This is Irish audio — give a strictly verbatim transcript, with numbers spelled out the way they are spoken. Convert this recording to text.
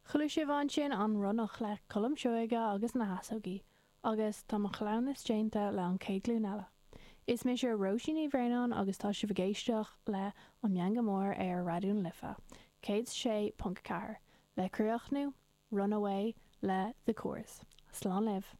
Chuala sibh ansin An Ronnach le Colm Seoige agus na hEasógaí, agus tá mo chleamhnas déanta le An Chéad Ghlúin Eile. Is mise Róisín Ní Bhraonáin agus tá sibh ag éisteacht le An Meangadh Mór ar Raidió na Life, céad sé ponc ceathair, le críochnú, Runaway le The Corrs. Slán libh.